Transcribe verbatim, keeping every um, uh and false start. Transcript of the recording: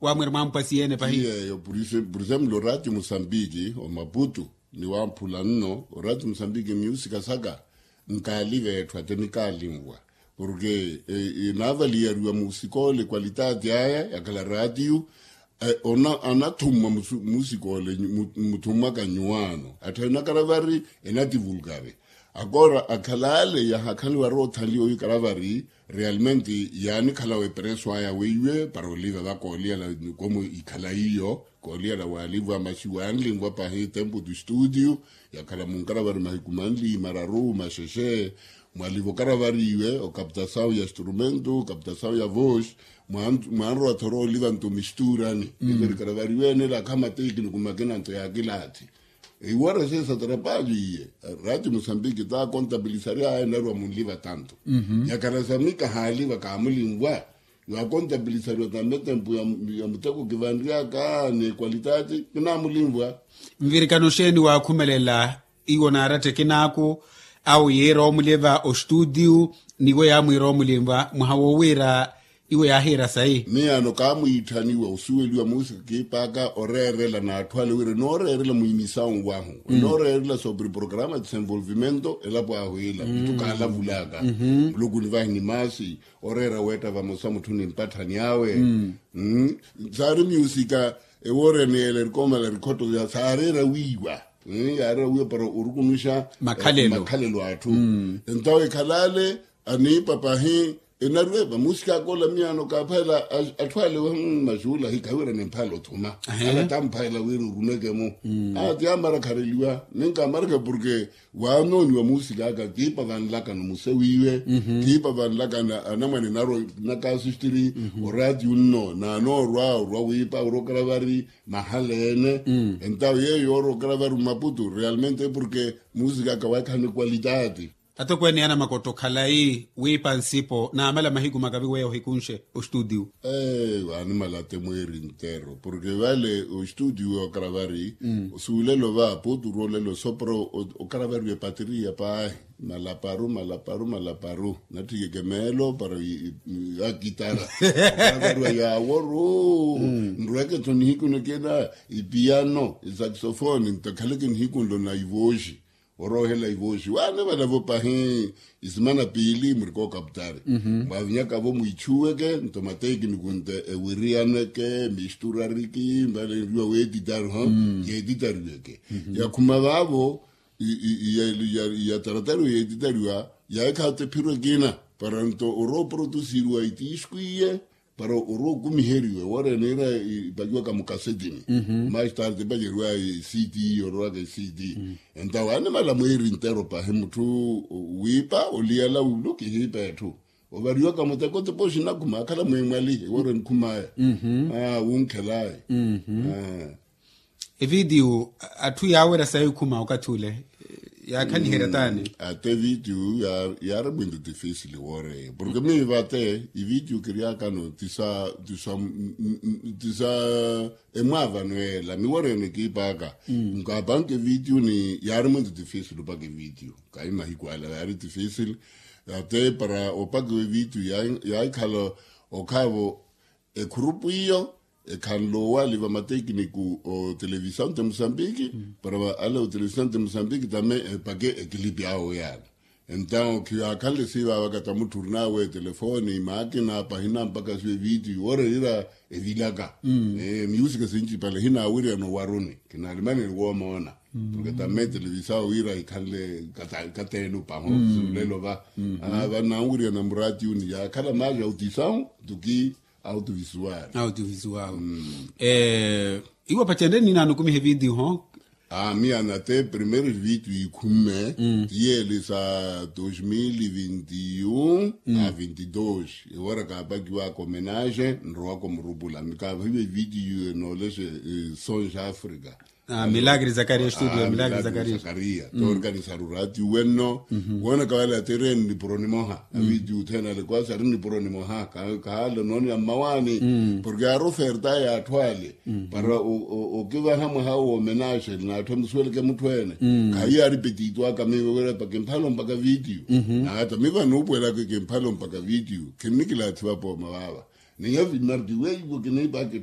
Wamwira mwampwa siyeene pahi. Iyeeyo. Por exemplo orati musambiki omaputu, ni wamphula nno orati musambiki musica saka, nkaali veetthu ate nikaalinwa. Porke naavaliyariwa musikoole kwalitati aya yakhala ratiyu. Anathummwa musikoole, muthummwaka nyuwaano atthu enakaravari, enativulkari. Akoora akhalale yahakhaniwa roothanliwa wi karavari, realmente yaanikhalawa epreso aya weiwe para oliva vakooliyala. Komu ikhala iyo kooliyala waalivwa masi waanlinvwa pahi tempo tu studio, yakhala munkaravari mahiku manli mararu maxexe, mwalivo karavariwe okaptasawu ya instrumento okaptasawu ya vosi. Mwanrowa thoro oliva nto misturani, iverikaravariwe ene lakha matekiniku makina nto ya kilathi. Iwara sesa tarapaju iye rati musambiki ta kontabilisari aye naruwa munliva tanto. Yakhala samika haaliva kaamulinvwa. Yaakontabilisariwa tambe tempu ya muteko kivanryaka ni ekwalitati kinaamulinvwa. Nvirikano xeeni waakhumelela iwo naaratta ekinaaku, awo yiira omuliva ostutiu, niwo yaamwiira omuliva mwaha wowiira iwo yaahiira sayi. Miyaano kaamwiitthaniwa osuweliwa musika kiipaka oreerela n'atthu ale wira enooreerela mwiimisawu wahu enooreerela sobre programa desenvolvimento elapo ahu ila ithu kaalavulaka. Muluku nivahi ni maasi oreera weetta vamosa mutthu ni mpatthani awe. Saari musika ewoorene yeela erikoomala rikhotto saareera wiiwa. Yaareera wiiwa para orukunuxa makhalelo atthu. Entawo ekhalale aniipa pahi enariwe vamusika akoola miyaano kaaphayela atthu ale. Maxuula hikhawiira nimphaela othuma ala tamphaela wira oruneke-mo. Ati amarakhareliwa ninkaamarakha porke waanooniwa musik'aka kiipa vanlakano muse wiiwe. Kiipa vanlakano anamwane naro nakasustiri oratiyo nno naanoorwa orwa wiipa orokera vari mahala ene. Entawo yeeyo yoorokera vari mmaputu realmente porke musik'aka waakhala ni kwalitati. Atokweene yaana makotta okhalayi wiipa nsipo naamala mahiku makavi weya ohikunxe ostutiu. Eeyo animala ate mweeri ntero porke vale ostutiu yookaravari osuulelo va putu roolelo soporo okaravariwa epateriya paahi. Malaparu malaparu malaparu natthikeke meelo para akitara okaravariwa yaaworu. Nrweke tho nihiku nikina ipiyano isaksofoni ntakhaleke nihiku nlo na ivooxi. Oroohela ivooxi waane valavo pahi isimana piili murikookaputari. Mwavinyakavo mwiichuweke nto matekiniku nte ewiriyaneke misturariki mbale nriwa weetitari ho yeetitariweke. Yakhuma vaavo iyataratariwa yeetitariwa yaekhaata ephiro ekina para nto orooprotusiriwa itiisku iye para orwa okumiheriwe wara eneera ipakiwaka mukasetini. Mastarte epakeriwa ecd orowaka ecd. Entawo animala mweeri ntero pahi mutthu wiipa oliyala wulu kihiipa etthu ovariwaka muteko tepo oxinakhuma akhala mwimwali ewara enikhumaya. Wunkhelaye. Evidiyu atthu yaawerya sayi okhuma okathi ule yaakhaliherya taani? Ate evidiyu yaari mwintu tifisili wooreya porke miiva ate ividiyu kiryakano tisa tisa tisa emwaavano ela miworene kiipaka. Nkaapanke evidiyu ni yaari mwintu tifisili opaka evidiyu kahi mahiku ala yaari tifisili. Ate para opakiwa evidiyu yaahikhala okhaavo ekhurupu iyo ekhanle owali vamatekiniku otelevisawu nte musambiki para ale otelevisawu nte musambiki tame epake ekilipi awo yaana. Entawo khiyaakhanle siivavaka tamutthu orinawe etelefoni maakina pahina mpaka siwa evidiyu wooreerira evilaka. Miusika sincipale hinaawiriyana owaruni kinaalimaneni woomoona porke tame etelevisawu wira hikhanle kateenu paho siulelo va. Vanaawiriyana muratiyuni yaakhala maaja autisawu tuki autovisual. Autovisual. Iwo pacenre ninaano okumiha evidiyu ho. Miyaano ate primeiro vidiyu ikhumme tiyeele sa dos mil vinti un a vinti dos ewara kaapakiwaka omenage nrowaka omurupula mikaapahiwa evidiyu enoolexe sons africa. Milagre zakaria estudio milagre zakaria. Toorkanisaru rati wenno woonaka wale atereeni nipuro nimoha avidiyu othene ale kwasi ari nipuro nimoha. Kahaale onooniya mmawaani porke yaari oferta y'atthu ale para okivaha mwaha woomenage n'atthu emusuweleke mutthu ene. Khahiyo ari petito aka miivo wira pakimphala ompaka vidiyu. Nata miivo anuupuwelaka kimphala ompaka vidiyu khinnikilathi vapooma vaava. Niyo vimarti weivo kiniipaka.